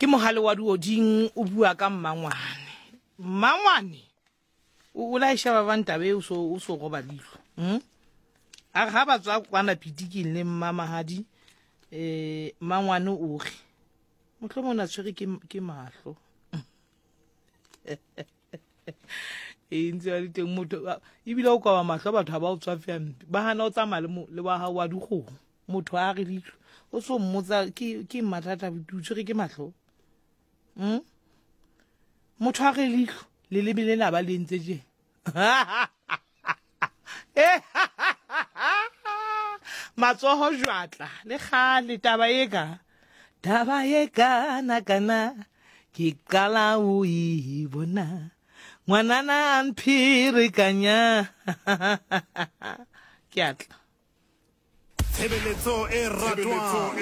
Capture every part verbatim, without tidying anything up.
Ke mohale wa dioding o bua ka mmangwane. Mmangwane o o laesha ba bang taba e o so o so roba leihlo. Hmm? A re ha ba tswa kwana pitiking le mmamahadi eh mmangwane o re mohlomong o na tshwere ke ke mahlo. E ntse ba le teng motho ebile o koba mahlo batho ha ba o tswafe hampe. Ba hana o tsamaya le mo le wa hao wa dikgomo. Motho a re leihlo o so mmotsa ke ke mathata o tshwere ke mahlo. Hmm? Motho a re leihlo leleme lena ba le entse tje. Matsoho jwatla le kgale taba e ka taba e kana kana ke qala o e bona ngwanana a mpherekanya ke atla. Tshebeletso e ratwang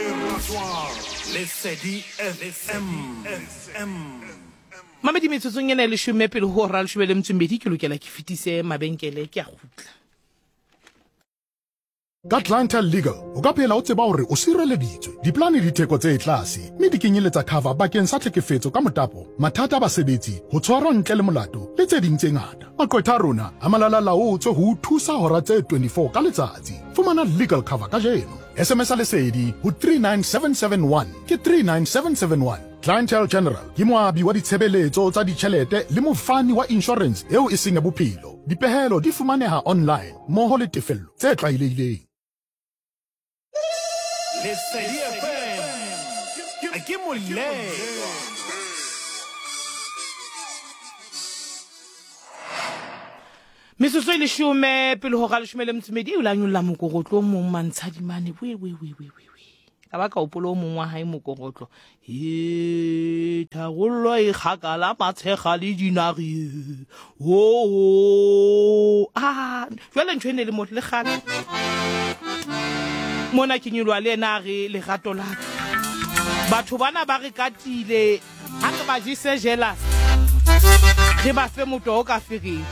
Lesedi F M. Mamedi metsotsong ena e leshome pele ho hora leshome le metso e mmedi ke lokela ke fetise mabenkele ke a kgutla. Ka Clientele Legal, o ka phela o tseba hore o sireleditswe. Diplane di theko tse tlase, mme di kenyeletsa cover bakeng sa tlhekefetso ka motapo, mathata a basebetsi, ho tshwarwa ntle le molato, le tse ding tse ngata. Maqwetha a rona a malalalaotswe ho o thusa hora tse twenty-four ka letsatsi. Fumana legal cover kajeno. S M S a Lesedi ho three nine seven seven one ke three nine seven seven one. Clientele General ke moabi wa ditshebeletso tsa ditjhelete le mofani wa insurance eo e seng ya bophelo. Dipehelo di fumaneha online mmoho le tefello tse tlwaelehileng. Lesedi F M ke moleko. Metsotso e leshome pele ho hora leshome le metso e mmedi o la nyolla mokorotlo o mong mantshadimane we we we we we we. Ka ba ka hopola o mong wa hae mokorotlo. He tharollo e kgakala matshega le dinare. Oh ah jwale ntho ene le motho le kgale. Mona ke nyolwa le yena a re lerato la ka. Batho bana ba re katile ha re ba jese jealous. Re ba fe motho o ka fereng.